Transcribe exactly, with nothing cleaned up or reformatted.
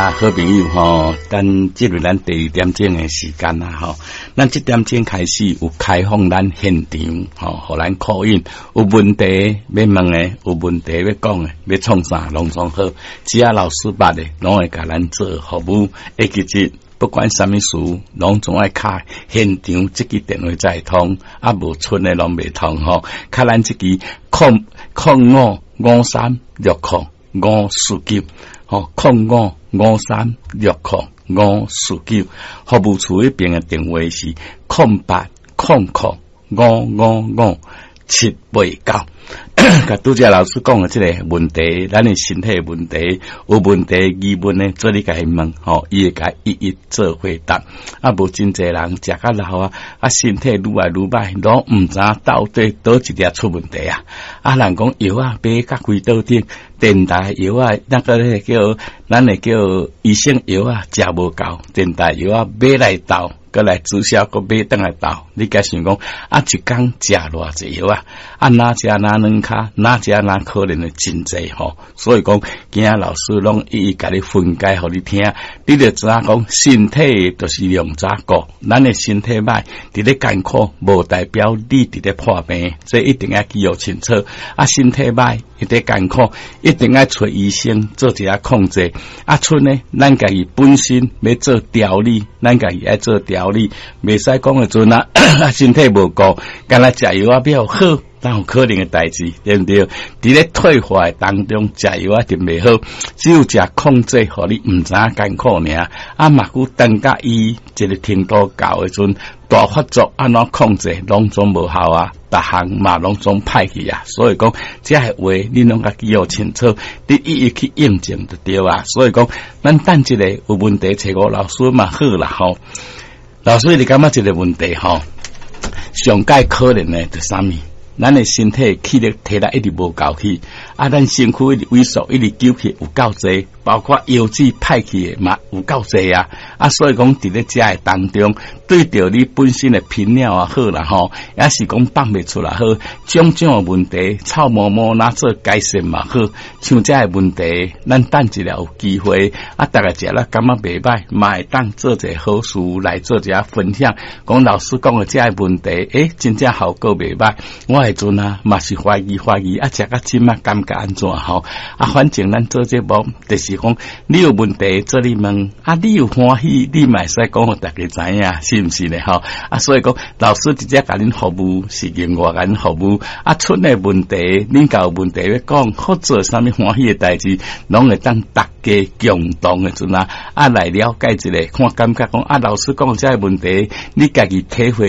啊，好朋友吼，咱進入咱第二點鐘的時間啦吼。咱這點鐘開始有開放咱現場吼，予咱 call in 有問題欲問的，有問題欲講的，欲創啥攏總好，只要老師捌的，攏會共咱做服務。會記得不管啥物事，攏總愛敲現場這支電話才會通，啊無賰的攏袂通吼。敲咱這支空空五五三六空五四九，吼，空五五三六空五四九，服務處彼邊的電話是空八空空五五五七八九。共拄才老師講的這個問題，咱的身體問題有問題疑問呢，做你共伊問，吼，伊會共一一做回答。啊，無真濟人食較老啊，啊，身體愈來愈歹，攏毋知到底佗一粒出問題啊！啊，人講藥仔買甲規桌頂，電台藥仔，那個咧叫咱會叫醫生藥仔食無夠，電台藥仔買來鬥，閣來注射，閣買轉來鬥。你敢想講啊？一工食偌濟藥啊？啊，若食若軟跤，若食若可能會真濟吼。所以講，今仔老師攏一一共你分解，予你聽，你就知影講，身體就是量早顧，咱的身體歹，佇咧艱苦，無代表你佇咧破病，這一定愛記予清楚。啊，身體歹，佇咧艱苦，一定愛揣醫生做一下控制。啊，賰呢，咱家己本身欲做調理，咱家己愛做調理，袂使講的陣啊，身體無顧，干焦食藥仔比較好。哪有可能的代誌，對毋對？佇咧退化的當中，食藥仔一定袂好，只有食控制，予你毋知影艱苦爾。啊，目久等甲伊一個程度到的陣，大發作按怎控制，攏總無效啊！逐項嘛攏總歹去啊！所以講，這个話你攏共記予清楚，你一一去驗證就對啊。所以講，咱等一下有問題揣吳老師嘛好啦吼。老師，你感覺這個問題吼，上蓋可能的就啥物？咱的身體氣力體力一直無夠去，啊，咱身軀一直萎縮，一直揪去有夠濟，包括腰子歹去的嘛有夠濟啊！啊，所以講佇咧遮的當中，對著你本身的頻尿也好啦吼，抑是講放袂出來好，種種的問題，臭毛毛若做改善嘛好，像這个問題，咱等一下有機會，啊，逐家食了感覺袂歹，嘛會當做一個好事來做一下分享。講老師講的這个問題，欸，真正效果袂歹，我彼陣啊，嘛是懷疑懷疑，啊，食甲這馬感覺按怎吼？啊，反正咱做節目，就是講你有問題做你問，啊，你有歡喜，你嘛會使講予逐家知影，是毋是咧？吼？啊，所以講老師直接共恁服務，是另外共恁服務。啊，出的問題，恁若有問題欲講，或做啥物歡喜的代誌，攏會當逐家共同的陣啊，啊來了解一下，看感覺講啊，老師講這个問題，你家己體會。